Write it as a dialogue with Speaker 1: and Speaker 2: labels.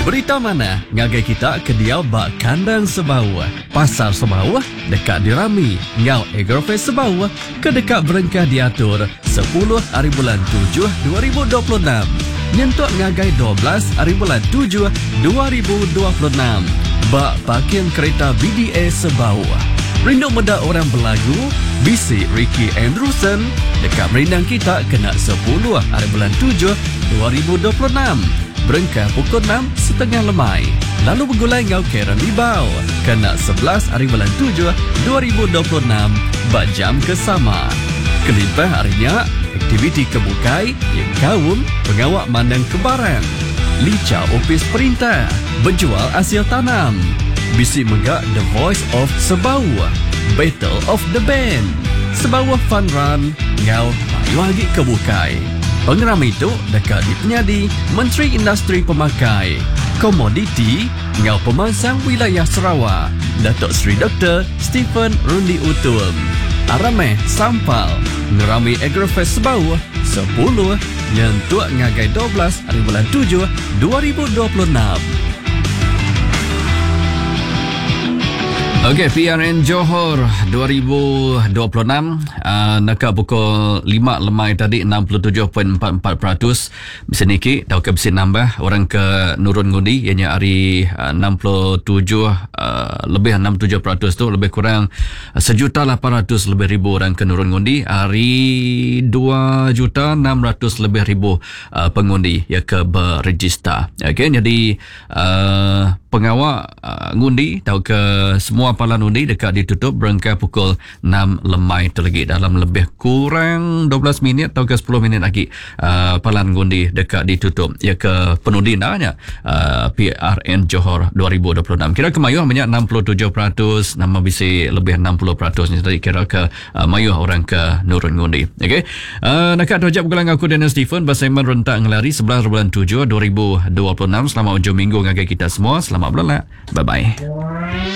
Speaker 1: Berita manah ngagai kita ke diau ba kandang Sebauh. Pasar Sebauh deka dirami enggau Agrofest Sebauh ke deka berengkah diatur sepuluh ari bulan tujuh 2026 nyentuk ngagai 12 ari bulan tujuh 2026 ba Parking Kereta BDA Sebauh. Rindu meda orang belagu? Bisi Ricky Andrewson deka merindang kita kena sepuluh ari bulan tujuh 2026 berengkah pukul enam setengah lemai. Lalu begulai enggau Karen Libau kena 11 ari bulan tujuh 2026 ba jam ke sama. Kelimpah ari nya, aktiviti ke bukai nyengkaum pengawa mandangka barang, licha opis perintah, bejual asil tanam. Bisi mega The Voice of Sebauh, Battle of the Band, Sebauh Fun Run enggau mayuh agi ke bukai. Pengerami tu deka dipenyadi Menteri Industri Pemakai, Komoditi enggau Pemansang Wilayah Sarawak, Datuk Seri Doktor Stephen Rundi Utum. Aram meh sampal ngerami Agrofest Sebauh sepuluh nyentuk ngagai 12 ari bulan tujuh 2026.
Speaker 2: Okey, PRN Johor 2026 uh, naka pukul 5 lemai tadi 67.44% bisi niki tauka bisi nambah orang ke nurun ngundi ianya ari uh, 67 uh, lebih 67% tu lebih kurang sejuta 800 lebih ribu orang ke nurun ngundi ari 2 juta 600 lebih ribu uh, pengundi ya ke berregister. Okey, jadi uh, pengawa uh, ngundi tauka semua palan undi dekat ditutup berengkah pukul 6 lemai tu lagi dalam lebih kurang 12 minit atau ke 10 minit lagi uh, palan ngundi dekat ditutup ya ke penundi nanya uh, PRN Johor 2026 kira ke mayuh banyak 67% nama bisi lebih 60% ni tadi kira ke uh, mayuh orang ke nurun ngundi. Okey, uh, nak tu ajak bergelang aku Daniel Stephen bersama rentak ngelari 11 bulan 7 2026. Selamat hujung minggu ngagai kita semua. Selamat berlelak. Bye bye.